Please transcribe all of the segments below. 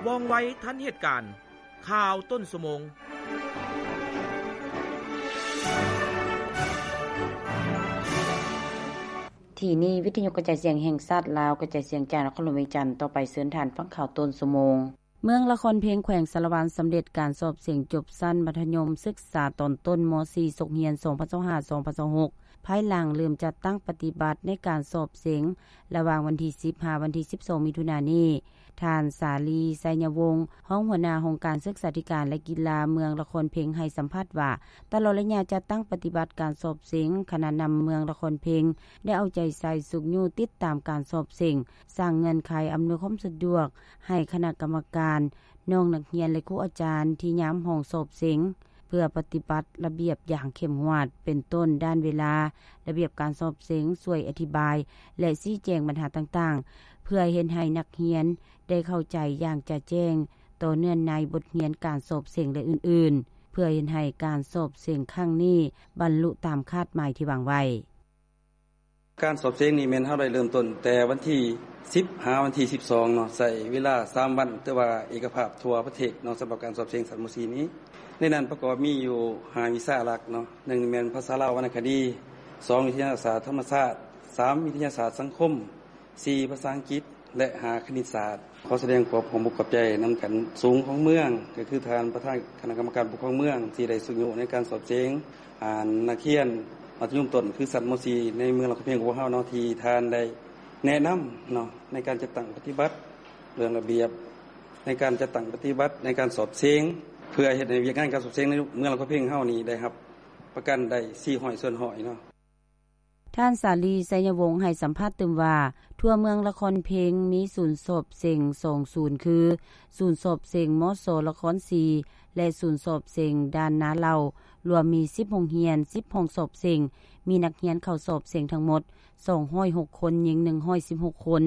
ວ່ອງໄວທັນເຫດການ. ຂ່າວຕົ້ນຊົ່ວໂມງ. ທີ່ນີ້ ວິທະຍຸກະຈາຍສຽງແຫ່ງຊາດລາວ ກະຈາຍສຽງຈາກນະຄອນຫຼວງວຽງຈັນ. ຕໍ່ໄປເຊີນທ່ານຟັງຂ່າວຕົ້ນຊົ່ວໂມງ. ເມືອງລະຄອນເພັງ ແຂວງສາລະວັນ ສຳເລັດການສອບເສັງຈົບຊັ້ນມັດທະຍົມສຶກສາຕອນຕົ້ນ ມໍສີ່ ສົກຮຽນ ສອງພັນຊາວຫ້າ ສອງພັນຊາວຫົກ ພາຍຫຼັງເລີ່ມຈັດຕັ້ງປະຕິບັດໃນການສອບເສັງ ລະຫວ່າງວັນທີສິບ ຫາວັນທີສິບສອງ ມິຖຸນານີ້. ທ່ານ ສາລີ ໄຊຍະວົງ ຮອງຫົວໜ້າຫ້ອງການສຶກສາທິການ ແລະ ກິລາເມືອງລະຄອນເພັງ ໃຫ້ສຳພາດວ່າ ຕະຫຼອດໄລຍະຈັດຕັ້ງປະຕິບັດການສອບເສັງ, ຄະນະນຳເມືອງລະຄອນເພັງ ໄດ້ເອົາໃຈໃສ່ຊຸກຍູ້ຕິດຕາມການສອບເສັງ, ສ້າງເງື່ອນໄຂອຳນວຍຄວາມສະດວກໃຫ້ຄະນະກຳມະການ, ນ້ອງນັກຮຽນ ແລະ ຄູອາຈານທີ່ຍາມຫ້ອງສອບເສັງ ເພື່ອປະຕິບັດລະບຽບຢ່າງເຂັ້ມງວດ ເປັນຕົ້ນ ດ້ານເວລາ, ລະບຽບການສອບເສັງ, ຊ່ວຍອະທິບາຍ ແລະ ຊີ້ແຈງບັນຫາຕ່າງໆ ເພື່ອເຮັດໃຫ້ນັກຮຽນໄດ້ເຂົ້າໃຈຢ່າງຈະແຈ້ງຕໍ່ເນື້ອໃນບົດຮຽນການສອບເສັງ ແລະ ອື່ນໆ ເພື່ອເຮັດໃຫ້ການສອບເສັງຄັ້ງນີ້ບັນລຸຕາມຄາດໝາຍທີ່ວາງໄວ້. ການສອບເສັງນີ້ແມ່ນເຮົາໄດ້ເລີ່ມຕົ້ນແຕ່ວັນທີສິບ ຫາວັນທີສິບສອງເນາະ, ໃຊ້ເວລາສາມວັນ ແຕ່ວ່າເອກະພາບທົ່ວປະເທດເນາະ ສຳລັບການສອບເສັງຊັ້ນ ມໍສີ່ ນີ້. ໃນນັ້ນປະກອບມີຢູ່ຫ້າວິຊາຫຼັກເນາະ, ໜຶ່ງແມ່ນພາສາລາວວັນນະຄະດີ, ສອງວິທະຍາສາດທຳມະຊາດ, ສາມວິທະຍາສາດສັງຄົມ, ສີ່ພາສາອັງກິດ ແລະ ຫ້າຄະນິດສາດ. ຂໍສະແດງຄວາມຂອບອົກຂອບໃຈນຳຂັ້ນສູງຂອງເມືອງ ກໍຄືທ່ານປະທານຄະນະກຳມະການປົກຄອງເມືອງ ທີ່ໄດ້ຊຸກຍູ້ໃນການສອບເສັງ ອ່າ ນັກຮຽນມັດທະຍົມຕົ້ນ ຄືຊັ້ນ ມໍສີ່ ໃນເມືອງລະຄອນເພັງຂອງພວກເຮົາເນາະ ທີ່ທ່ານໄດ້ແນະນຳເນາະ ໃນການຈັດຕັ້ງປະຕິບັດເລື່ອງລະບຽບ ໃນການຈັດຕັ້ງປະຕິບັດໃນການສອບເສັງ ເພື່ອເຮັດໃຫ້ວຽກງານການສອບເສັງໃນເມືອງລະຄອນເພັງເຮົານີ້ໄດ້ຮັບປະກັນໄດ້ສີ່ຮ້ອຍສ່ວນຮ້ອຍເນາະ. ທ່ານ ສາລີ ໄຊຍະວົງ ໃຫ້ສຳພາດຕື່ມວ່າ ທົ່ວເມືອງລະຄອນເພັງມີສູນສອບເສັງສອງສູນ ຄື ສູນສອບເສັງ ມສ ລະຄອນສີ ແລະ ສູນສອບເສັງດ່ານນາເຫຼົ່າ ລວມມີສິບໂຮງຮຽນ, ສິບຫ້ອງສອບເສັງ, ມີນັກຮຽນເຂົ້າສອບເສັງທັງໝົດສອງຮ້ອຍຫົກຄົນ, ຍິງໜຶ່ງຮ້ອຍສິບຫົກຄົນ,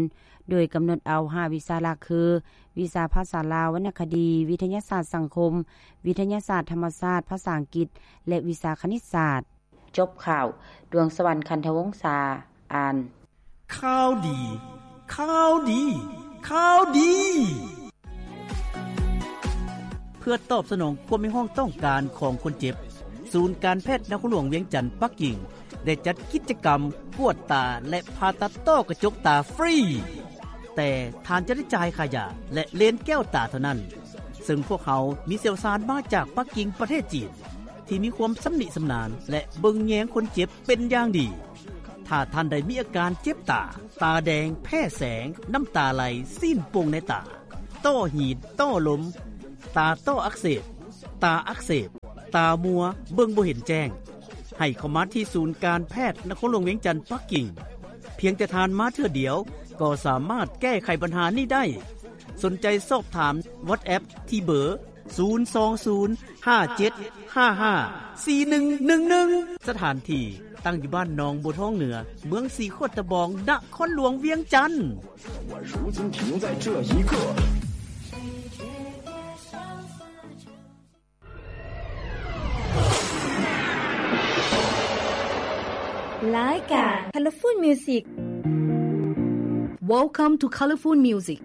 ໂດຍກຳນົດເອົາຫ້າວິຊາຫຼັກຄື ວິຊາພາສາລາວວັນນະຄະດີ, ວິທະຍາສາດສັງຄົມ, ວິທະຍາສາດທຳມະຊາດ, ພາສາອັງກິດ ແລະ ວິຊາຄະນິດສາດ. ຈົບຂ່າວ, ດວງສະຫວັນ ຄັນທະວົງສາ ອ່ານ. ຂ່າວດີ, ຂ່າວດີ, ຂ່າວດີ! ເພື່ອຕອບສະໜອງຄວາມຮຽກຮ້ອງຕ້ອງການຂອງຄົນເຈັບ, ສູນການແພດນະຄອນຫຼວງວຽງຈັນ ປັກກິ່ງ ໄດ້ຈັດກິດຈະກຳກວດຕາ ແລະ ຜ່າຕັດຕ້ອກະຈົກຕາຟຣີ, ແຕ່ທ່ານຈະໄດ້ຈ່າຍຄ່າຢາ ແລະ ເລນແກ້ວຕາເທົ່ານັ້ນ. ເຊິ່ງພວກເຮົາມີຊ່ຽວຊານມາຈາກປັກກິ່ງ ປະເທດຈີນ ທີ່ມີຄວາມຊຳນິຊຳນານ ແລະ ເບິ່ງແຍງຄົນເຈັບເປັນຢ່າງດີ. ຖ້າທ່ານໃດມີອາການເຈັບຕາ, ຕາແດງ, ແພ້ແສງ, ນ້ຳຕາໄຫຼ, ຊີ້ນປ່ງໃນຕາ, ຕ້ອຫີນ, ຕ້ອລົມ, ຕາຕ້ອອັກເສບ, ຕາອັກເສບ, ຕາມົວ, ເບິ່ງບໍ່ເຫັນແຈ້ງ, ໃຫ້ເຂົ້າມາທີ່ສູນການແພດນະຄອນຫຼວງວຽງຈັນ ປັກກິ່ງ. ພຽງແຕ່ທ່ານມາເທື່ອດຽວ ກໍສາມາດແກ້ໄຂບັນຫານີ້ໄດ້. ສົນໃຈສອບຖາມ WhatsApp ທີ່ເບີ ສູນສອງສູນ ຫ້າເຈັດຫ້າຫ້າ ສີ່ໜຶ່ງໜຶ່ງໜຶ່ງ. ສະຖານທີ່ຕັ້ງຢູ່ບ້ານໜອງບົວທອງເໜືອ, ເມືອງສີຂວດຕະບອງ, ນະຄອນຫຼວງວຽງຈັນ. ລາຍການ Colorful Music. Welcome to Colorful Music.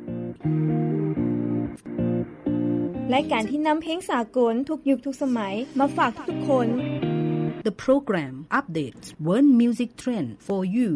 ລາຍການທີ່ນຳເພງສາກົນທຸກຍຸກທຸກສະໄໝມາຝາກທຸກໆຄົນ. The program updates world music trend for you.